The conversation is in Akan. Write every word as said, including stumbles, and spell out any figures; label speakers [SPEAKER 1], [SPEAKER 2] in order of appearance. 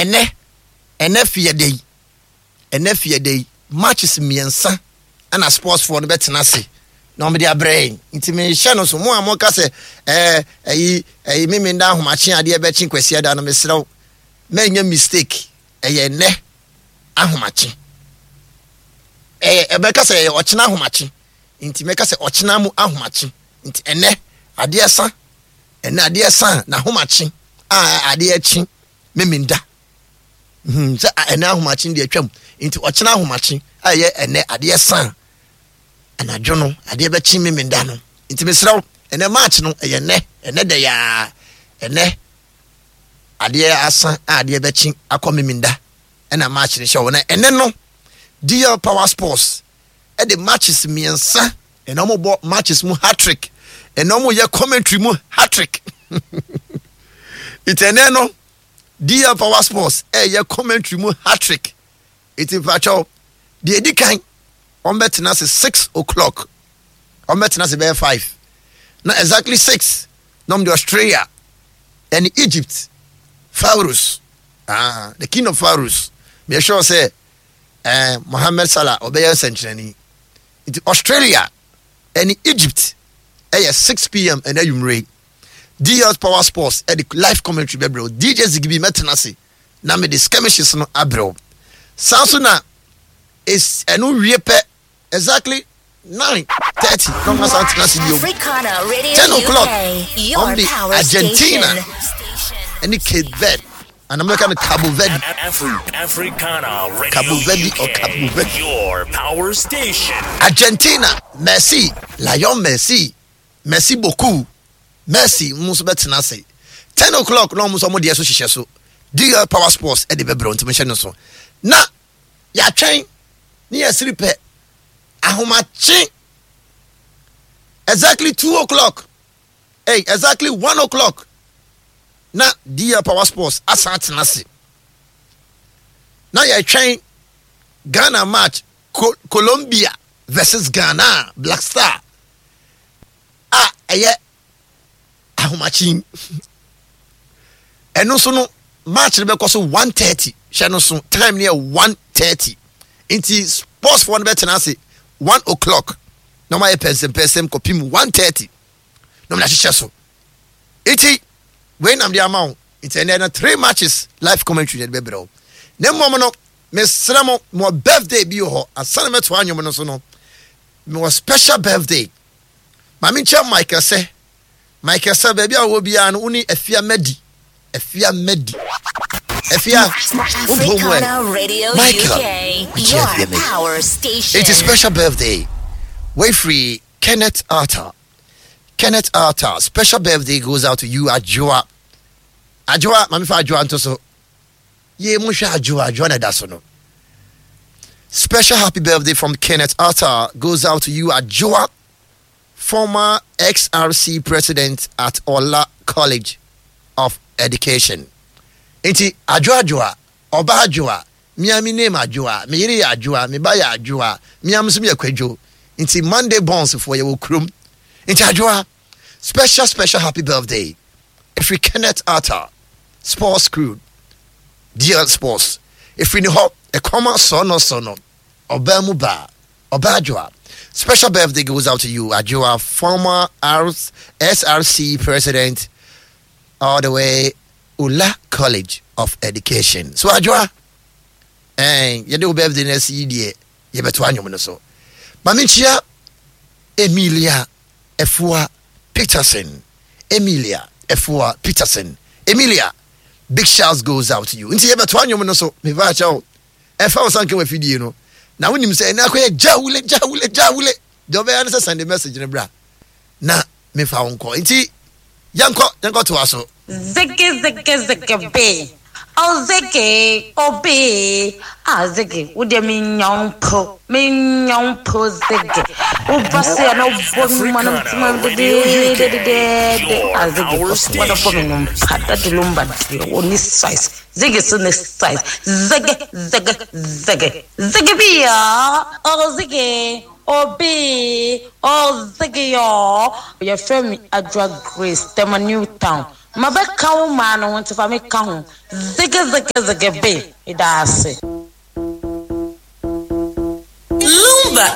[SPEAKER 1] Ɛnɛ ɛnɛ fiada yi, ɛnɛ fiada yi, matches mmiɛnsa ɛna sportsfoɔ no bɛtena ase na wɔde abrɛ yɛn. Nti mehyɛ no so, mo a moka sɛ ɛɛ ɛyi ɛyi mímí nda ahomakye adeɛ bɛkye Kwasi ada no, mesrɛ wo, mɛnyɛ mistake. Ɛyɛ nnɛ ahomakye, ɛyɛ ɛbɛka sɛ ɛyɛ ɔkyena ahomakye, nti mɛka sɛ ɔkyena mu ahomakye. Nti ɛnɛ adeɛ sa, ɛnɛ adeɛ sa na ahomakye a adeɛ kye mímí nda hmm sɛ ɛnɛ ahomakye deɛ atwam, nti ɔkyena ahomakye a ɛyɛ ɛnɛ adeɛ sa anadwo no, adeɛ bɛkye mímí nda no. Nti mesrɛ wo, ɛnɛ match no ɛyɛ nnɛ, ɛnɛ dɛ yaa, ɛnɛ adeɛ asa a adeɛ bɛkye akɔ mímí nda ɛna match no hyɛ wɔ. Na ɛnɛ no D L Power Sports ɛde matches mmiɛnsa, ɛna wɔn bɔ matches mu hat-trick, ɛna wɔn yɛ commentary mu hat-trick. Nti ɛnɛ no D L Power Sports ɛyɛ commentary mu hat-trick. Nti mpakyɛw, deɛ edi kan, wɔn bɛtena ase six o'clock, wɔn bɛtena ase bɛyɛ five na exactly six na wɔn de Australia ɛne Egypt Pharaohs, ah, the King of Pharaohs. Mɛ sure sɛ ɛɛ Mohammed Salah ɔbɛyɛ nsɛnkyerɛnni. Nti Australia ɛne Egypt ɛyɛ six p m ɛna ayumire. D L Power Sports ɛde live commentary bɛbrɛw. D J Zigibi mɛtena ase na mede skirmishes no abrɛw saa so. Na ɛno wie pɛ, exactly nine thirty na ɔmo asan tena ase bio. Ten o'clock, ɔmo de Argentina ɛne Cape Verde, and I'm looking at Cabo Verde.
[SPEAKER 2] Africana Radio
[SPEAKER 1] Cabo Verde
[SPEAKER 2] U K,
[SPEAKER 1] or Cabo Verde.
[SPEAKER 2] Your power station.
[SPEAKER 1] Argentina, Messi, Lion Messi, Messi beaucoup, Messi mo nso bɛtena ase ten o'clock na ɔmo nso ɔmo deɛ so hyehyɛ so. D L Power Sports ɛde bɛbrɛ, ntoma hyɛ no so na yɛatwɛn ne yɛsiri pɛ ahomakye exactly two o'clock, hey, exactly one o'clock na D L Power Sports asan atena ase na yɛtwɛn Ghana match, Co Colombia versus Ghana Black Star a ɛyɛ ahomakye. Ɛno nso no match no bɛkɔ so one thirty. Hyɛ no so, time no yɛ one thirty. Nti sports foɔ no bɛtena ase one o'clock na wɔn ayɛ pɛnsɛmpɛnsɛm kɔpim one thirty na wɔn ahyehyɛ so. Nti wei nam de ama wo. Nti ɛnɛ no three matches live commentary na ɛde bɛbrɛ wo. Na mmom no, mesrɛ mo, mewɔ birthday bi wɔ hɔ ansa na mɛto anwom no so no. Mewɔ special birthday. Maame nkyɛn Michael sɛ Michael sɛ baabi a wɔwɔ biara no, wo ne Afia Madi, Afia Madi, Afia wopɔ mu ɛ Michael mekyɛ Afia Madi. It is special birthday wei firi Kenneth Arthur. Kenneth Arthur, special birthday goes out to you. Adwoa, Adwoa, maame fa Adwoa nto so yie mo hwɛ Adwoa, Adwoa na ɛda so no. Special happy birthday from Kenneth Arthur goes out to you, Adwoa, former S R C president at Ola College of Education. Nti Adwoa, Adwoa, ɔba Adwoa, mia mi name Adwoa, me yere yɛ Adwoa, me ba yɛ Adwoa, mia nso mi yɛ Kwadwo. Nti Monday bonds foɔ yɛ wɔ kurom. Nti Adwoa, special special happy birthday. Efiri Kenneth Arthur, sports crew, D L Sports. Efiri ne hɔ, ɛkɔm asɔ no so no, ɔbaa mu baa. Ɔba Adwoa. Special birthday goes out to you, Adwoa, former S R C president, all the way Ula College of Education. So Adwoa, eh, yɛde wo birthday na asi deɛ yɛbɛto anwom no so. Mame nkyia Emilia Efua Peterson. Emilia Efua Peterson. Emilia, big shouts goes out to you. Nti yɛbɛto anwom no so. Mefa akyɛw. Ɛfa wo sanka wafidie no. Na wonim sɛ ɛnɛ akɔyɛ gyawule gyawule gyawule. Deɛ ɔbɛyɛ no sɛ send message no bra. Na mefa wo nkɔ. Nti yɛnkɔ yɛnkɔ toa so.
[SPEAKER 3] Ziggy, ziggy, ziggy B. Oh, Ziggy, oh B. Ah, Ziggy, wo deɛ me nyɔnko, me nyɔnko Ziggy. Wo ba se na wo bɔ me ma no ntoma dedededede. Ah, Ziggy, kɔ so wɔde bɔ me no mpa, Daddy Lumba deɛ, wo ni size. Ziggy so ne size. Ziggy, Ziggy, Ziggy. Ziggy B, ah, oh Ziggy. Oh B, oh Ziggy, oh. Yɛfrɛ me Adwoa Grace, Tema New Town. Mabɛka wo maa no ho, nti fa me ka ho. Ziggy ziggy ziggy be. Meda ase.